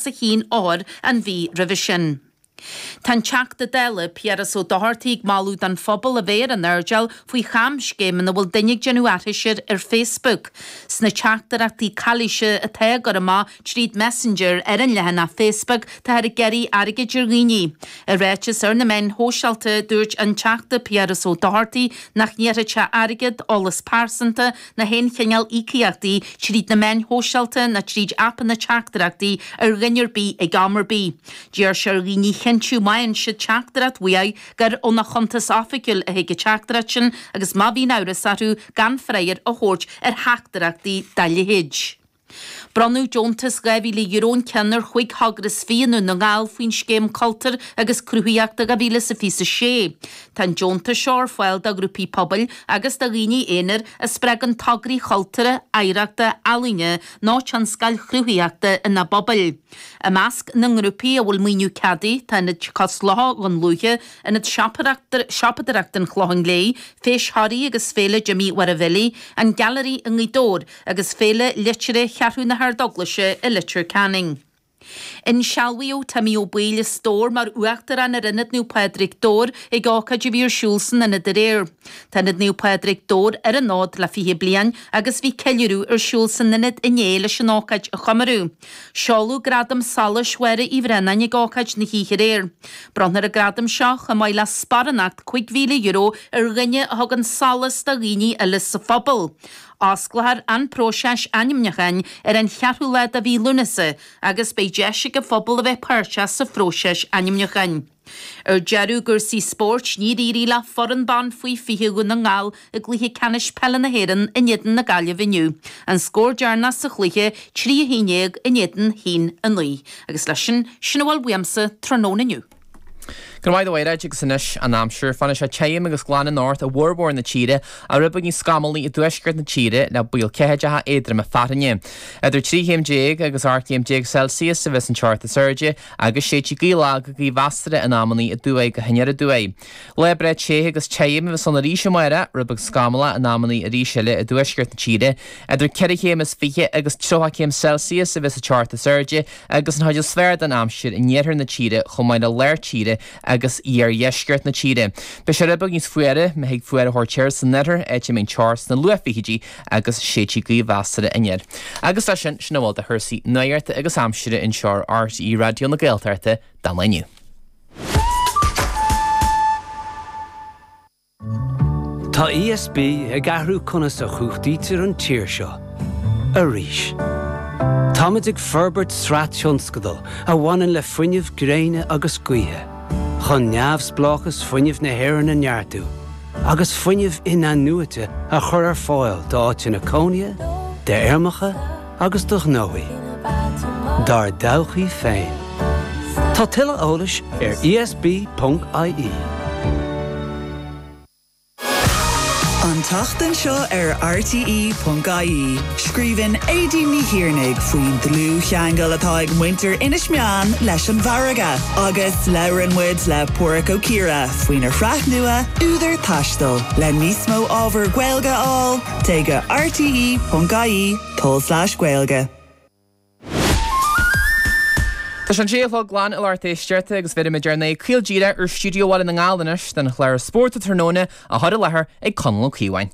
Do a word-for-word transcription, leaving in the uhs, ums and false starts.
a haon othar an mhí roimhe sin. Tá an Teachta Dála, Piaras Ó Dochartaigh ag moladh don phobal a bheith ar an airdeall faoi chamscéim ina bhfuil duine ag déanamh aithris air ar Facebook. Sna teachtaireachtaí calaoise atá á gcur amach tríd Messenger ar an leathanach Facebook táthar ag iarraidh airgid ar dhaoine. I ráiteas ar na meáin shóisialta dúirt an Teachta Piaras Ó Dochartaigh nach n-iarrfaidh sé airgead, eolas pearsanta ná haon chineál íocaíochtaí tríd na meáin shóisialta ná tríd aipeanna teachtaireachtaí ar dhuine ar bith ag am ar bith. D'iarr sé ar dhaoine chinntiú má fhaigheann siad teachtaireacht uaidh gur óna chuntas oifigiúil a thig an teachtaireacht sin agus má bhíonn amhras orthu gan freagra a thabhairt ar theachtaireachtaí dá leithéid. Bronnadh deontas dhá mhíle euro an ceann ar chúig thogra is fiche i nDún na nGall faoin scéim Cultúir agus Cruthaitheachta dhá mhíle is fiche a sé. Tá an deontas seo ar fáil do ghrúpaí pobail agus do dhaoine aonair a spreagann tograí chultúrtha, oidhreachta, ealaíne nó tionscail chruthaitheachta ina bpobail. I measc na ngrúpaí a bhfuil maoiniú ceadaithe tá Ionad Cois Locha Dhún Lúiche, Ionad Siopadóireachta an Chlocháin Léith, Feis Thoraí agus Féile Jimí Mháire Bhilí, An Gailearaí i nGaoth Dobhair agus Féile Liteartha Cheathrú na hArdeaglaise i Leitir Ceanainn. Insealbhaíodh Timmy Ó Baoill as Dobhar mar Uachtarán ar Ionad Naomh Pádraig Dobhar ag ócáid a bhí ar siúl san ionad aréir. Tá Ionad Naomh Pádraig Dobhar ar an fhód le fiche bliain agus bhí ceiliúradh ar siúl san ionad inné leis an ócáid a chomóradh. Seoladh Gradam Solais Mháire Uí Bhraonáin ag ócáid na hoíche aréir. Bronnfar an gradam seo chomh maith le sparánacht cúig mhíle euro ar dhuine a thugann solas do dhaoine eile sa phobal. Osclófar an próiseas ainmniúcháin ar an cheathrú lá de mhí Lúnasa agus beidh deis ag an phobal a bheith páirteach sa phróiseas ainmniúcháin. Ar deireadh i gcúrsaí spóirt, níor éirigh le foireann ban faoi fiche Dhún na nGall i gcluiche ceannais peile na hÉireann in éadan na Gaillimhe inniu. An scór deireanach sa chluiche, trí a haon déag in éadan haon a naoi. Agus leis sin, sin a bhfuil uaimse tráthnóna inniu. Go raibh maith agat a Mhairéad agus anois an aimsir. Fanfaidh sé tirim agus glan anocht i bhformhór na tíre ach rud beag níos scamallaí i dtuaisceart na tíre le baol ceathaideacha éadroma fearthainne. Idir trí chéim déag agus ocht gcéim déag Celsius a bheas an teocht is airde agus séidfidh gaoth lag go gaoth mheasartha in amannaí aduaidh go haniar aduaidh. Lá breá te agus tirim a bheas ann arís amárach, rud beag scamallach in amannaí arís eile i dtuaisceart na tíre. Idir ceithre chéim is fiche agus tríocha céim Celsius a bheas an teocht is airde agus an chuid is fearr den aimsir in iarthar na tíre chomh maith le lár tíre agus iardheisceart na tíre. Beidh sé rud beag níos fuaire, má thig fuaire a thabhairt air san oirthear, áit a mbeidh an teocht sna luathfhichidí agus séidfidh gaoth mheasartha aniar. Agus leis sin, sin a bhfuil de chúrsaí nuachta agus aimsire anseo ar RTÉ Raidió na Gaeltachta don lá inniu. Tá ESB ag athrú conas a chumhachtaítear an tír seo. Arís. Táimid ag forbairt sraith tionscadal a bhaineann le fuinneamh gréine agus gaoithe, chun neamhspleáchas fuinnimh na hÉireann a neartú, agus fuinneamh in-athnuaite a chur ar fáil d'áiteanna cónaithe, d'fheirmeacha agus do ghnóthaí. Dár dtodhchaí féin. Tá tuilleadh eolais ar ESB.ie. An tseachtain seo ar RTE.ie, scríobhann Aedín Ní Thiarnaigh faoin dlúthcheangal atá ag muintir Inis Meáin leis an bhfarraige, agus labhrann muid le Páraic Ó Ciardha faoina shraith nua Údar Taistil le níos mó ábhar Gaeilge a fháil, téigh go rte.ie tulslais Gaeilge. Tá sé an sé a chlog glan a lucht éisteachta agus bhéarfaimid ár n-aghaidh caol díreach ar stiúideo Bhaile na nGall anois don chlár Spórt an Tráthnóna á chur i láthair ag Conall Ó Caoimhín.